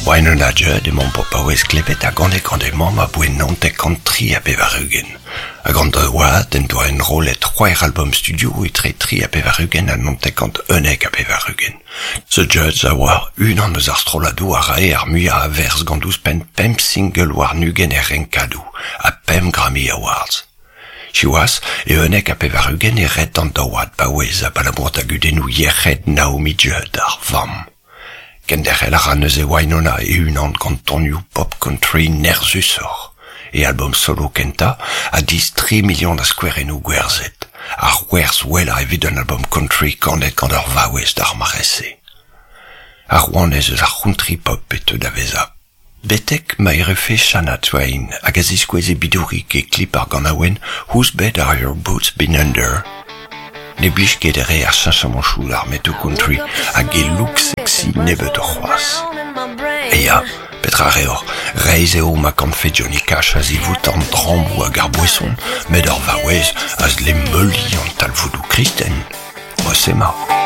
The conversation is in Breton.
Wynonna Judd emaomp o paouez klevet a gane gant he mamm aboe 99 93. Hag an oad en doa enrollet c'hwec'h albom studio etre 83 ha 1991. The Judds a oa unan eus ar strolladoù a rae ar muiañ a verzh gant ouzhpenn pemp single warn-ugent er renkadoù ha pemp Grammy Awards. Siwazh, e 91 e red an daouad paouez abalamour da gudennoù yec'hed Naomi Judd, ar vamm. Kenderc'hel a ra neuze Wynonna e-unan gant tonioù pop country nerzhusoc'h. E albom solo kentañ a dizh tri milion a skouerennoù gwerzhet, ar werzh wellañ evit un albom country kanet gant ur vaouez d'ar mare-se. Ar rouanez eus ar c'hountry pop e teu da vezañ. Betek ma errufe Shania Twain hag a ziskoueze bidourig e klip ar ganaouenn Whose Bed Are Your Boots Been Under? Ne blij ket re ar cheñchamanchoù d'ar metoù country hag e look sexy nebeutoc'h c'hoazh. E ya, petra reoc'h, reizh eo ma kanfe Johnny Cash a-zivout an drammoù hag ar boeson, met ur vaouez a zle meuliñ an talvoudoù kristen. Mod-se 'ma.